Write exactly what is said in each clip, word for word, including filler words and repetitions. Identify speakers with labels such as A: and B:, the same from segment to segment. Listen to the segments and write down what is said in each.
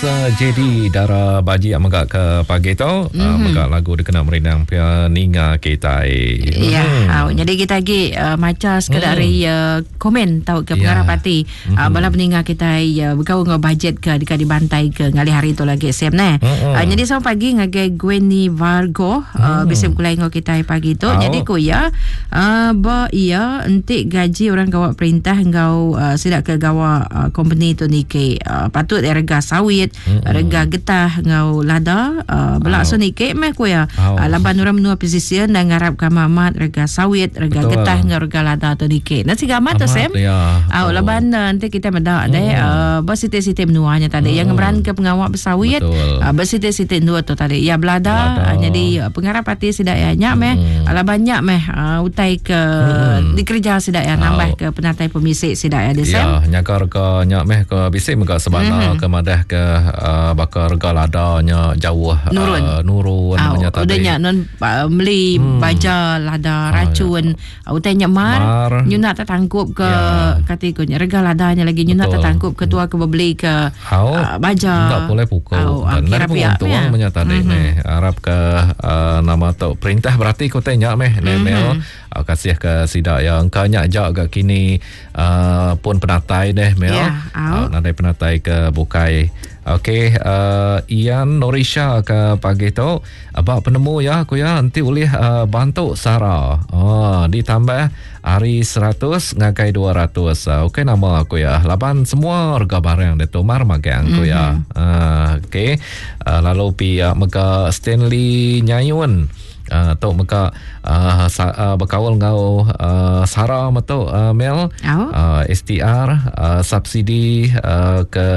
A: J D Dara Baji yang mega ke pagi tu mm-hmm. uh, mega lagu dikena merindang pia ninga kita.
B: Ya, mm. uh, jadi kita lagi uh, maca sekadar mm. dari uh, komen tau ke pengarap yeah. hati mm-hmm. uh, bala peninga kita uh, berkau ngau budget ke dekat dibantai ke ngalih hari tu lagi Sam neh. Mm-hmm. Uh, jadi sama pagi ngagai Gwenny Vargo uh, mm. bisa berkulai ngau kita pagi tu. Oh. Jadi ku ya uh, ba iya entik gaji orang gawak perintah ngau uh, sidak ke gawak uh, company tu nike uh, patut rega sawit mm-hmm. rega getah ngau lada uh, belak so nike meh ku ya oh. uh, laban orang menua pesisir dan ngarap ka amat rega sawit rega betul. Getah ngau rega lada tu nike. Nasi gamat tu Sam.
A: Ya.
B: Uh, oh. Laban uh, nanti kita medak deh uh, bersiti-siti menuanya tadi mm. yang ngeberan ke pengawak bersawit uh, bersiti-siti dua tu tadi ya belada uh, jadi uh, pengarap hati sidak ya nyak meh mm. uh, banyak meh uh, utai ke mm. dikerja sidak ya nambah oh. ke penatai pemisik sidak ya deh Sam.
A: Ya nyaga rega nyak meh ke bisik mega sebana mm-hmm. ke madah ke uh, bakal rega ladanya jauh
B: nurun
A: uh, nurun
B: oh,
A: tadi.
B: Udah nyak non uh, beli hmm. baja lada racun oh, ya. Utai nyak mar, mar. Nyuna tertangkup ke ya. Kategori rega ladanya lagi nyuna tertangkup ke tua ke beli ke
A: oh,
B: uh, baja
A: tak boleh pukul
B: oh,
A: dan untung ya. Banyak tadi mm-hmm. nih harap ke uh, nama tu perintah berarti ku tanya meh mm-hmm. Mel uh, kasih ke sidak ya engkau nyak jak gak kini uh, pun penatai deh Mel
B: yeah,
A: uh, nadai penatai ke bukai. Okey, uh, Ian Norisha ke pagi tu abak penemu ya aku ya nanti boleh uh, bantu Sara. Oh, ditambah hari seratus ngagai dua ratus. Uh, okey nama aku ya. Laban semua harga barang dia tu mar magang aku mm-hmm. ya. Uh, okey. Uh, lalu pihak mega Stanley Nyayun. Uh, tok mega uh, sa, uh, berkawal ngau uh, Sara metok uh, Mel
B: oh.
A: uh, S T R uh, subsidi uh, ke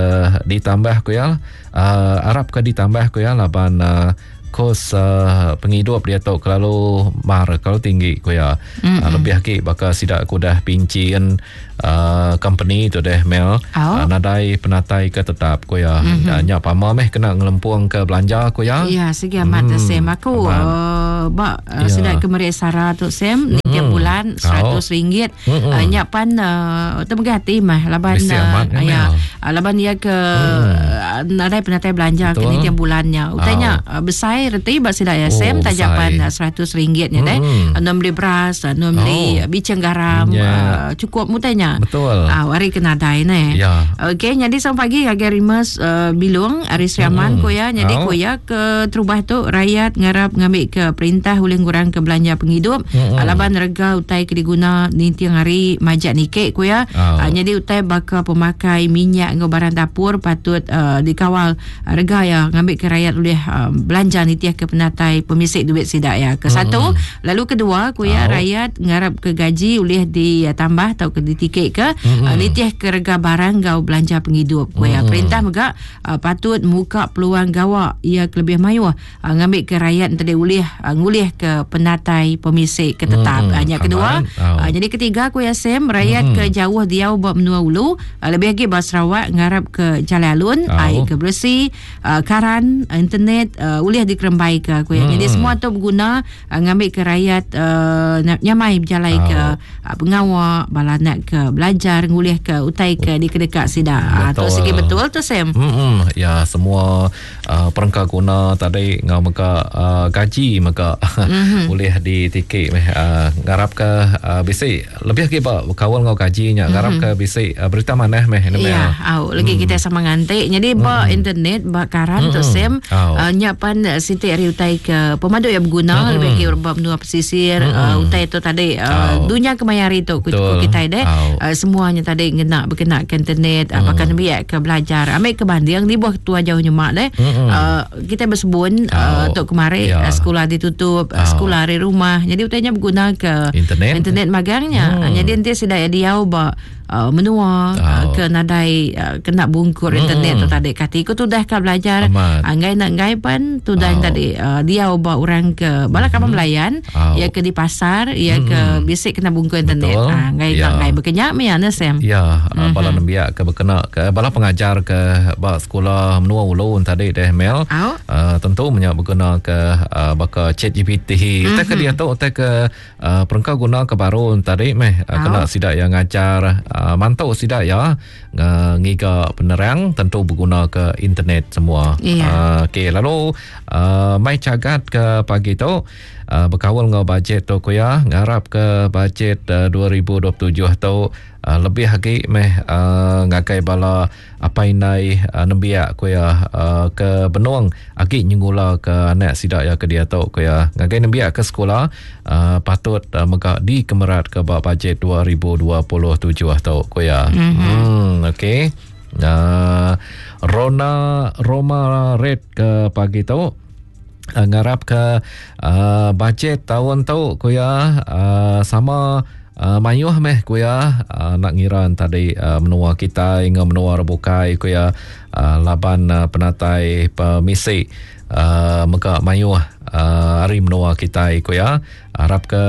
A: ditambah ku ya uh, harap ke ditambah ku ya laban uh, kos uh, penghidup dia tok kelalu mar kalau tinggi ku ya
B: mm-hmm.
A: uh, lebih lagi bakal sidak ku dah pincin uh, company tu deh Mel
B: oh.
A: uh, nadai penatai ke tetap ku ya
B: mm-hmm.
A: uh, nyak pama meh kena ngelempung ke belanja ku ya
B: ya segi amat
A: mm.
B: Sam aku uh, bak uh,
A: ya.
B: Sidak ke Maria Sara tu Sam mm-hmm. tiap bulan seratus ringgit
A: mm-hmm.
B: uh, nyak pan uh, temegah hati mah laban
A: uh,
B: ya uh, laban dia ke
A: mm.
B: nadai penatai belanja
A: betul.
B: Ke tiap bulannya utainya
A: oh.
B: uh, besar reti bak sidak ya
A: oh,
B: Sam tajapan seratus ringgit nya deh
A: hmm.
B: uh, beli beras uh, beli
A: oh.
B: bicang garam
A: yeah.
B: uh, cukup mutainya
A: betul
B: ah uh, hari kena dai ne
A: ya
B: okey jadi sampai pagi agar Rimas uh, Bilung Ari Sriaman
A: hmm.
B: ko ya jadi
A: oh.
B: ko ya ke terubah tu rakyat ngarap ngambil ke perintah ulih ngurang ke belanja penghidup
A: hmm.
B: Laban rega utai ke diguna ninting hari majak nikek ko ya
A: oh.
B: uh, jadi utai bakal pemakai minyak ngau barang dapur patut uh, dikawal rega ya ngambil ke rakyat ulih uh, belanja nitiah ke penatai pemisik duit sidak ya ke satu
A: mm-hmm.
B: lalu kedua ku ya
A: oh.
B: rakyat ngarap ke gaji ulih ditambah atau ke ditikik ke
A: mm-hmm.
B: uh, nitiah ke rega barang gau belanja penghidup ku ya
A: mm-hmm.
B: Perintah mega uh, patut muka peluang gawak ia kelebih mayuh uh, ngambil ke rakyat tadi ulih uh, ngulih ke penatai pemisik ke tetap
A: mm-hmm.
B: uh, yang kedua
A: oh.
B: uh, jadi ketiga ku ya Sam rakyat
A: mm-hmm.
B: ke jauh diau buat menua ulu uh, lebih lagi bah Sarawak ngarap ke jalan alun
A: oh.
B: air ke bersih uh, karan internet uh, ulih dikerembai ke aku ya.
A: Hmm.
B: Jadi semua tu berguna uh, ngambil ke rakyat uh, nyamai berjalai
A: oh.
B: ke uh, pengawak bala nak ke belajar ngulih ke utai ke di kedekat sidak.
A: Betul.
B: Uh, tu segi betul tu Sam.
A: Hmm ya semua uh, perengka guna tadi ngau mega uh, gaji mega
B: mm-hmm.
A: boleh ditikik meh uh, ngarap ke uh, bisi lebih lagi ba kawal ngau gajinya ngarap
B: mm-hmm.
A: ke bisi uh, berita manah meh ne
B: Ya, au lagi
A: hmm.
B: kita sama ngantik. Jadi ba
A: hmm.
B: internet ba karan
A: hmm.
B: tu Sam
A: oh.
B: uh, nyapan siti hari utai ke pemadu yang berguna
A: mm-hmm.
B: lebih ke urban menua pesisir
A: mm-hmm.
B: uh, utai tu tadi uh,
A: oh.
B: dunia kemayari tu ku kita deh
A: oh.
B: uh, semuanya tadi ngena berkena ke internet
A: mm.
B: uh, bahkan biak ke belajar ambil ke banding di buah tua jauh nyemak deh
A: mm-hmm.
B: uh, kita bersebun
A: oh.
B: uh, tok kemari
A: yeah.
B: uh, sekolah ditutup
A: oh.
B: uh, sekolah hari rumah jadi utainya berguna ke
A: internet
B: internet magangnya
A: mm.
B: uh, jadi nanti sudah diau ba uh, menua
A: oh.
B: uh, ke nadai uh, kena bungkur
A: mm.
B: internet tu tadi kati ku tu dah ka belajar anggai nak ngai pan tu dah
A: oh.
B: tadi uh, dia ubah orang ke bala
A: mm-hmm.
B: kamu melayan
A: oh.
B: ya ke di pasar ya
A: mm-hmm.
B: ke bisik kena bungkur internet ah ngai
A: ya.
B: nak ngai berkenyak me ya Sam
A: ya
B: mm-hmm.
A: bala nembiak ke berkena ke bala pengajar ke ba sekolah menua ulu tadi deh Mel
B: oh.
A: uh, tentu menyak berguna ke uh, baka Chat G P T
B: mm-hmm.
A: tak ke dia tu tak ke uh, perengka guna ke baru tadi meh uh,
B: oh.
A: kena sidak yang ngajar uh, mantu sidak ya ngiga penerang tentu berguna ke internet semua.
B: Yeah.
A: Uh, okey, lalu uh, mai cagat ke pagi tu uh, berkawal ngau bajet tu kuya, ngarap ke bajet uh, dua ribu dua puluh tujuh tu uh, lebih lagi meh uh, ngagai bala apa indai uh, nembiak kuya uh, ke benung agi nyengula ke anak sidak ya ke dia tu kuya. Ngagai nembiak ke sekolah uh, patut uh, mega dikemerat ke ba bajet dua ribu dua puluh tujuh tu kuya.
B: Mm-hmm.
A: Hmm, okey. Uh, Rona Roma Red ke pagi tu uh, ngarap ke uh, bajet tahun tu kuya uh, sama Uh, mayuh meh kuya uh, nak ngira tadi uh, menua kita hingga menua rebukai kuya uh, laban uh, penatai pemisi uh, mega mayuh uh, hari menua kita kuya. Harap ke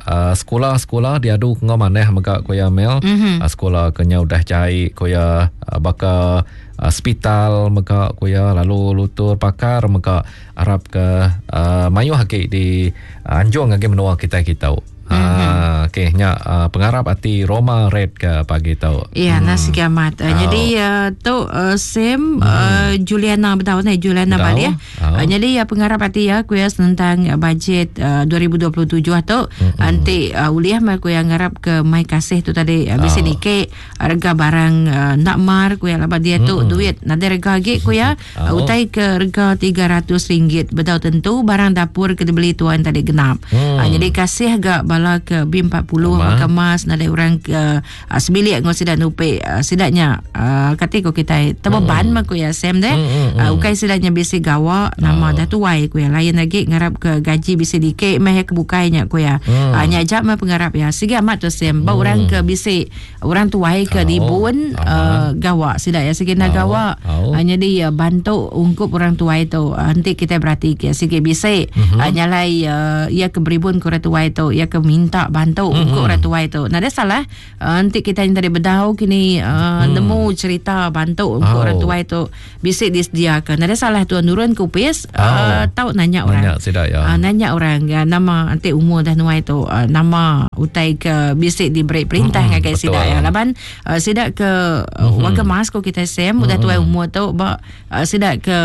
A: uh, sekolah-sekolah diadu ngau maneh mega kuya mel.
B: Mm-hmm.
A: Uh, sekolah kenya udah cai kuya uh, baka uh, hospital mega kuya, lalu lutur pakar mega harap ke uh, mayuh lagi di uh, anjung lagi menua kita kita.
B: Mm-hmm.
A: Ah, okey, nya uh, pengarap hati Roma Red ke pagi tu.
B: Ya,
A: hmm.
B: nasi kiamat. Uh,
A: oh.
B: Jadi uh, tu uh, Sam
A: hmm.
B: uh, Juliana betul ni Juliana balik ya.
A: Oh.
B: Uh, jadi uh, pengarap hati ya kuya tentang uh, bajet uh, dua ribu dua puluh tujuh tu
A: mm-hmm.
B: nanti uh, uliah mai kuya ngarap ke mai kasih tu tadi uh, bisi
A: oh.
B: dikek rega barang uh, nak mar kuya laba dia tu
A: mm-hmm.
B: duit nanti rega lagi kuya
A: oh.
B: uh, utai ke rega tiga ratus ringgit betul tentu barang dapur ke dibeli tuan tadi genap.
A: Mm.
B: Uh, jadi kasih gak bala ke B empat puluh
A: Ama.
B: maka mas nadai orang ke uh, sebilik ngau sidak nupe uh, sidaknya uh, kata ko kita terbeban
A: hmm.
B: mah ko ya Sam deh
A: hmm, hmm,
B: uh, ukai sidaknya bisi gawa nama
A: oh.
B: dah tuai ko ya lain lagi ngarap ke gaji bisi dikek meh ke bukainya ko ya
A: hmm.
B: uh, nya ajak mah pengarap ya sige amat tu Sam ba
A: hmm.
B: orang ke bisi orang tuai ke
A: oh.
B: dibun uh, gawa sidak ya sige nak
A: oh.
B: gawa
A: oh.
B: uh, jadi uh, bantu ungkup orang tuai tu uh, nanti kita berarti ke sige bisi
A: hmm.
B: uh, nyalai uh, ia ke beribun ko orang tuai tu ia ke minta bantu
A: mm-hmm.
B: untuk orang tua itu. Nah, ada salah. Uh, nanti kita yang tadi bedau kini uh,
A: mm.
B: nemu cerita bantu untuk
A: oh.
B: orang tua itu bisik disediakan. Ada salah tuan nurun kupis
A: oh.
B: uh, tahu nanya orang.
A: Nanya tidak ya.
B: Uh, nanya orang uh, nama nanti umur dah nuai itu uh, nama utai ke bisik diberi perintah
A: mm-hmm.
B: ngagai sidak ya. Laban uh, sidak ke uh,
A: mm-hmm.
B: warga mas ko kita sem udah
A: mm-hmm.
B: tua umur tu ba uh, sidak ke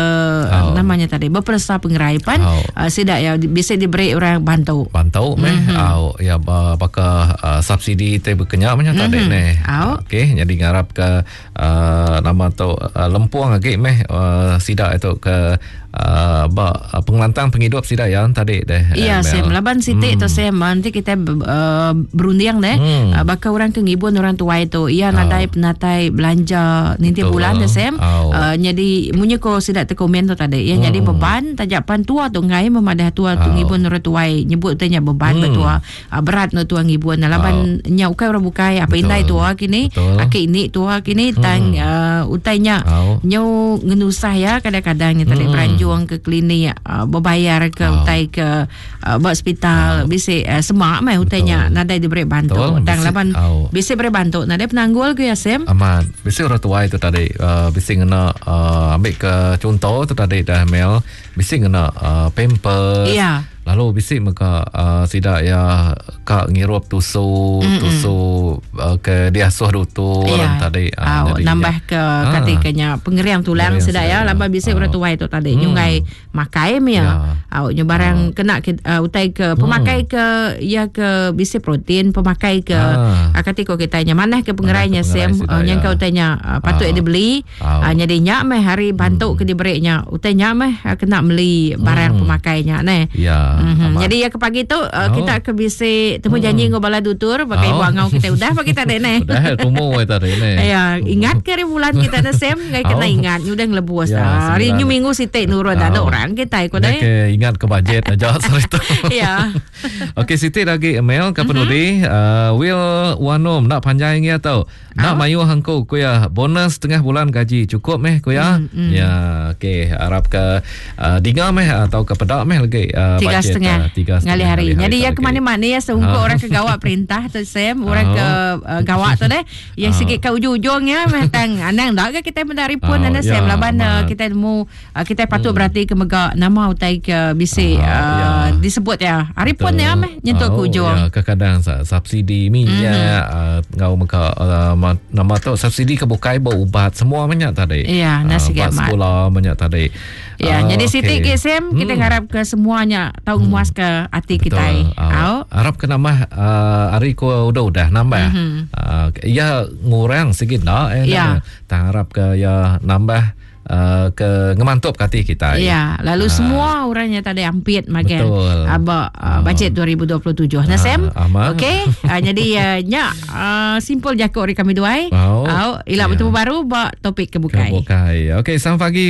A: oh.
B: uh, namanya tadi berpersa pengeraipan
A: oh.
B: uh, sidak ya bisik diberi orang bantu.
A: Bantu meh.
B: Mm-hmm.
A: Oh, ya baka uh, subsidi te berkenyak macam
B: mm-hmm.
A: tadi ni.
B: Oh.
A: Okey, jadi ngarap ke uh, nama tu uh, lempuang lagi meh uh, sidak itu ke uh, ba uh, pengelantang penghidup sidak ya tadi deh.
B: Iya, Sam laban siti
A: hmm.
B: tu Sam nanti kita uh, berunding deh.
A: Hmm.
B: Uh, baka orang ke ngibun orang tua itu ia nadai
A: oh.
B: penatai belanja ninti bulan deh Sam.
A: Oh.
B: Uh, jadi munyi ko sidak te komen tu tadi. Ia
A: hmm.
B: jadi beban tajapan tua tu ngai memadah tua tu
A: oh.
B: ngibun orang tua nyebut tanya beban
A: hmm.
B: betua uh, berat no tua ngibun laban
A: oh.
B: nya ukai orang bukai apa
A: Betul.
B: indai tua kini aki ini tua kini
A: hmm.
B: tang uh, utainya
A: oh.
B: nyo ngenusah ya kadang-kadang nya tadi
A: hmm.
B: beranjung ke klinik uh, berbayar ke
A: oh.
B: utai ke uh, buat hospital
A: oh.
B: bisi uh, semak meh utainya nadai diberi bantu tang laban
A: oh.
B: bisi beri bantu nadai penanggul ke ya Sam
A: amat bisi orang tua itu tadi uh, bisi ngena uh, ambil ke contoh tu tadi dah Mel bisi ngena uh, pampers
B: yeah.
A: Lalu bisi maka uh, sidak ya kak ngirup tusu
B: Mm-mm.
A: tusu uh, ke diasuh dutu
B: yeah.
A: tadi
B: uh, oh, nambah ke
A: ah.
B: katikanya pengeriang tulang sidak ya laban bisi
A: oh.
B: orang tua itu tadi
A: mm.
B: nyungai makai ya
A: yeah.
B: au nyu barang
A: oh.
B: kena ke, uh, utai ke pemakai
A: mm.
B: ke ya ke bisi protein pemakai ke
A: ah.
B: uh, katiko kitanya manah ke pengerainya sem uh,
A: ya.
B: yang kau utainya uh, patut
A: ah.
B: dibeli
A: oh.
B: uh, jadi nyak meh hari bantu
A: mm.
B: ke diberinya utainya meh uh, kena beli barang
A: mm.
B: pemakainya neh
A: ya.
B: Mm-hmm. Jadi ya ke pagi tu uh,
A: oh.
B: kita ke bisi temu
A: mm.
B: janji ngau bala dutur pakai
A: oh.
B: ibu angau kita udah pagi tadi ne.
A: Udah tumu tadi ne.
B: Ya, ingat ke hari bulan kita na sem ngai kena
A: oh.
B: ingat udah ngelebus.
A: Ya,
B: hari ni minggu sitik nurun
A: oh.
B: ada orang kita ikut deh.
A: Ke ingat ke bajet aja cerita.
B: Ya.
A: Okey sitik lagi email ke penudi
B: mm-hmm.
A: uh, Will Wanom nak panjang ya tau. Nak
B: oh.
A: mayu hangku ku ya bonus setengah bulan gaji cukup meh ku ya.
B: Mm-hmm.
A: Ya okey harap ke uh, dinga meh atau ke pedak meh lagi uh,
B: tiga setengah
A: tiga setengah
B: ngali hari.
A: hari.
B: Jadi ya ke mana-mana ya seungkup
A: ha.
B: orang ke gawak perintah tu Sam, orang
A: ha.
B: ke uh, gawak tu deh. Yang
A: ha.
B: sikit ke ujung-ujungnya meh tang anang dak ke kita mendari pun
A: ha.
B: ana Sam
A: ya,
B: laban uh, kita nemu uh, kita patut
A: hmm.
B: berarti ke mega nama utai ke bisi
A: ha.
B: uh,
A: ya.
B: disebut ya. Hari pun ya meh nyentuk ke
A: Oh,
B: ujung.
A: Ya, kadang subsidi minyak mm-hmm. uh, ngau meka uh, nama tu subsidi ke bukai berubat semua banyak tadi.
B: Ya, nasi
A: uh, sekolah banyak tadi.
B: Ya, uh, jadi okay. Siti ke Sam, hmm. kita harap ke semuanya tahu hmm. muas ke hati kita.
A: Uh, harap ke nambah uh, hari ko udah-udah nambah. Mm-hmm. Uh, ya ngurang sikit nak eh.
B: Ya.
A: Tak harap ke ya nambah Uh, ke ngemantup hati kita.
B: Ya, lalu uh, semua orangnya tadi ampit makan. Aba uh, bajet dua ribu dua puluh tujuh. Nah, Sam. Okey. Uh, jadi uh, nya uh, simpul jakuk ri kami duai.
A: Oh.
B: Au, ila
A: Ya.
B: bertemu baru ba topik kebukai.
A: Kebukai. Okey, selamat pagi.